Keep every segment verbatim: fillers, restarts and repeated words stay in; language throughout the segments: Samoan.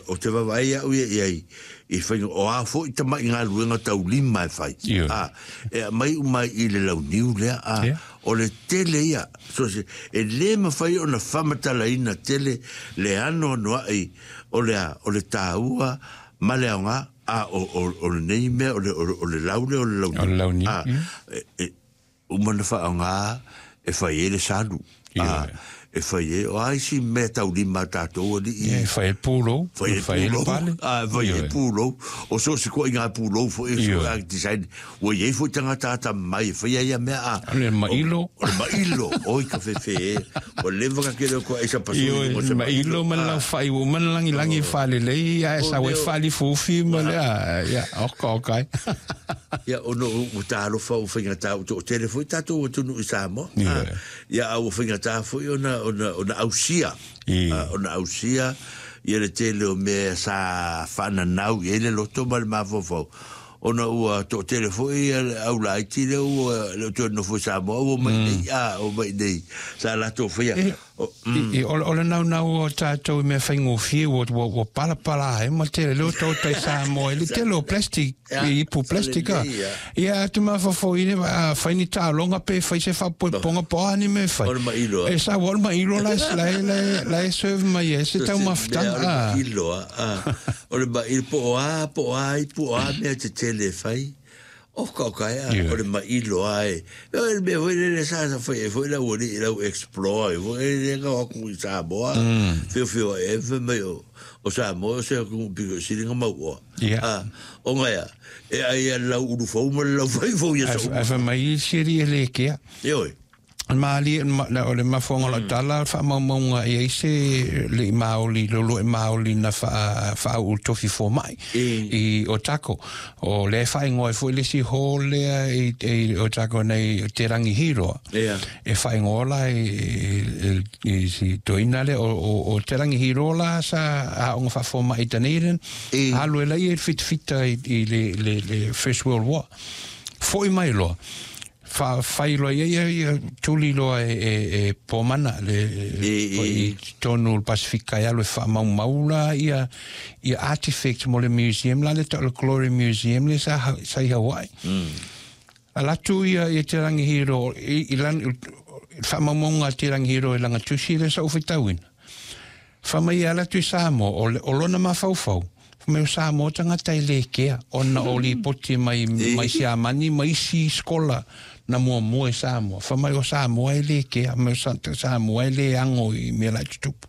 o te vaavaai au ia i ai i faiga o a foʻi tamaʻi galuega taulima e fai a e aumai uma i le launiu lea a o le tele ia so se e lē mafai ona faamatalaina tele le anoanoaʻi o le a o le tāua ma le aogā a o o o lenei mea o le o le lau lea o le launiu a e uma na faaaogā e fai ai le salu a e fai ai o a isi mea taulima a tatou alii e fai ai pulou fai ai pulou a fai ai pulou o so o se koʻiga pulou foʻi so a design ua iai foʻi tagata atamamai e faia ia mea a o le mailo o le mailo oi ka fefe e ua leva ka kele o koa aisa pasoi o se mailo ma le laufai ua uma ona lagilagi faalelei ae sau ai faalifuufi ma le a ia oka oka ai. Ia ona ua talofa ua faigata ua toatele foi tatou atunuu i Samoa ia a ua faigata foi ona ona ona ausia ona ausia ia le tele o mea sa faananau i ai le loto ma le mafaufau ona ua toatele foi ia le au laiti lea ua le o toe nofo i Samoa ua mai nei a ua mai nei sa latou faia. I, o, o le naunau o tatou i mea faigofie ua, ua, ua palapala ai ma tele leo tau tai Samoa i le tele o plastic, i ipu plastic a. Ia atu mafaufau i a fai ni taaloga pe fai se faapoepoega po o a ni mea e fai. O le mailo a. E sau o le mailo la la la la e serve mai ai se taumafataga. O le mailo a. O le mailo po o a po o a ipu o a mea tetele e fai. Oka oka ea, o le maʻilo a e. O le mea foi lele sa sa fai ai foi le aualii i lau explore ai foi lea na o atu i Samoa, feofeoai ai fai mai o o Samoa o se atunuu pito sili ona mauoa. A, ona ea, e ai lava le lau ulu fou ma le lau fai fou i aso uma. Ae fai mai isi alii e le kea. Ioe. Malie, o le mafuaaga o lau tala, o le faamaumauga e i ai se alii maoli, loloe maoli na faauu i le tofi fomai i Otago. O lea e faaigoa ai foi le isi hall lea i Otago nei, Te Rangi Hīroa. E faaigoa la i si toeaina lea, o Te Rangi Hīroa la sa aoga faafomai i Dunedin, alu ai la ia i le fitafita i le First World War. Foi mai loa. Fai loa ia ia ia tuli loa e e e Pomana le i totonu o le Pasifika e alu e faamaumau la ia ia artifacts mo le museum la le tau o le Glory Museum le sa sa i Hawaii. Alu atu ia ia Te Rangi Hīroa i i lana faamaumauga a Te Rangi Hīroa i lana tusi lea sa ou faitauina. Fai mai e alu atu i Samoa o le o lona mafaufau Fai mai o Samoa tagata e le kea ona o lipoti mai mai Siamani ma isi skola na muamua i Samoa. Fai mai o Samoa e le kea, fai mai o Samoa e le ago i mea la e tutupu.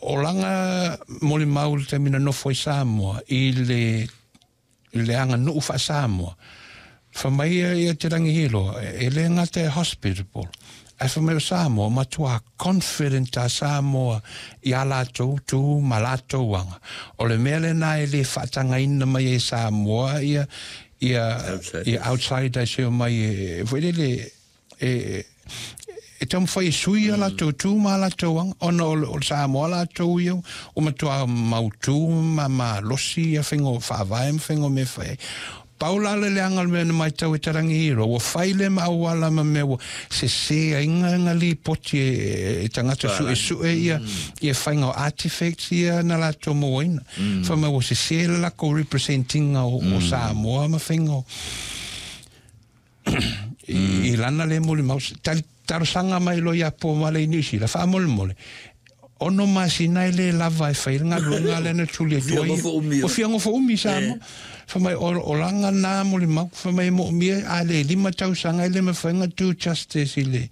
O lana molimau i le taimi na nofo ai Samoa i le i le aganuu faa-Samoa. Fai mai ia ia Te Rangihiroa, e le gata e hospitable, ae fai mai o Samoa, matua confident a Samoa i a latou tu ma latou aga. O le mea lena e le faatagaina mai ai e Samoa ia ia ia outsiders e omai e foi lele e e taumafai e sui a latou tu ma a latou aga, ona o le Samoa latou ia ua matua mautu ma malosi ia faiga faavae ma faiga o mea e fai ai. Pau la le leaga o le mea na matau e Tarangihiroa, ua fai le ma auala ma mea ua sese ai nga lipoti e tagata suesue ia ia faiga o artifacts ia na latou mauaina. Fai mai ua sese le lakou represent-ina o Samoa ma faiga o i lana lea molimau. Talosaga mai loa ia Pomale i Niu Sila, faamolemole, ono masina e le lava e fai le galuega lea na tuli atu ai. Ua fia nofo umi i Samoa. Fai mai, o lana na molimau, fai mai e moomia a le lima tausaga e le mafai ona do justice i le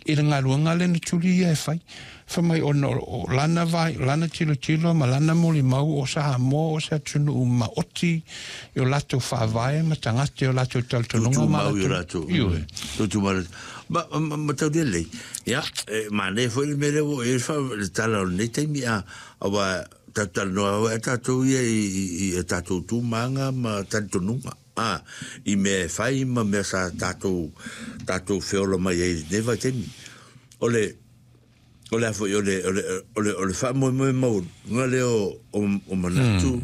i le galuega lea na tuli ia e fai. Fai mai ona o lana vai, lana tilotilo ma lana molimau o Samoa o se atunuu maoti i o latou faavae ma tagata i o latou talitonuga ma latou. Ioe. Tutumau i o latou. Ma, ma, ma tau lelei. Ia, e manaia foi le mea lea ua oo i ai le fa, le tala o lenei taimi, a, aua tatou talanoa lava e tatou ia i, i, i a tatou tu ma aga ma talitonuga, a, i mea e fai ma mea sa tatou, tatou feola mai ai i lenei vaitaimi. O le, o le a foi, o le, o le, o le, o le faamoemoe maualuga lea o, o, o manatu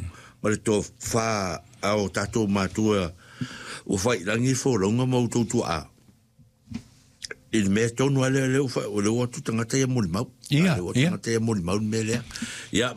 ma le tofa a o tatou matua ua fai i lagi folauga ma outou tuaa. I le mea tonu lava lea, lea ua, lea ua o atu tagata ia molimau. Ia, Lea ua o atu ia. tagata ia molimau le mea lea. Ia,